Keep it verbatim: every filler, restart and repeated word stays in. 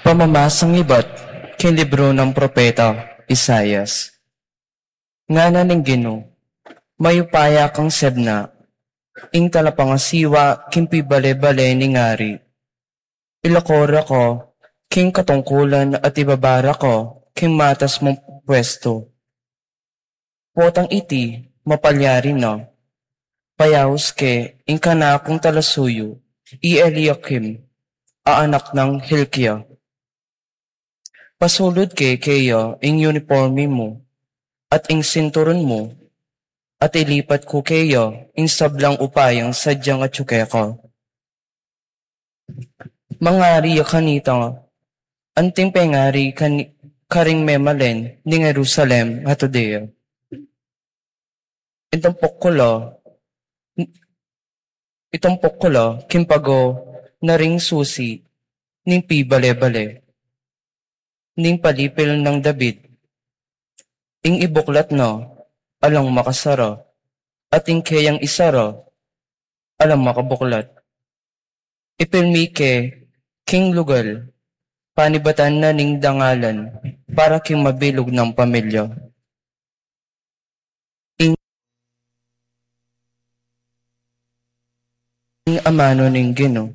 Pamamasang ibat king libru nang propeta Isaias. Ngana ning Ginu, mayupaya kang Sebna, ing talapangasiwa king pibale-bale ning ari. Ilako ra ko king katungkulan at ibaba ra ko king matas mung pwestu. Potang iti, mapalyari na. Payaus ke ing kanakung talasuyu, i Eliakim, a anak nang Hilkia. Pasulud ke keya ing uniporme mu, at ing sinturon mu, at ilipat ku keya ing sablang upayang sadyang atyu keka. Mangari ya kanita, anting pengari kani-, karing memalen ning Jerusalem at Judea. Itumpok ku la, itumpok ku la king pago na ring susi ning pibale-bale, ning palipil nang David. Ing ibuklat na, alang makasara, at ing keyang isara, alang makabuklat. Ipilmi ke king lugal, panibatan na ning dangalan, para king mabilug nang pamilya. Ing, ing amanu ning Ginu.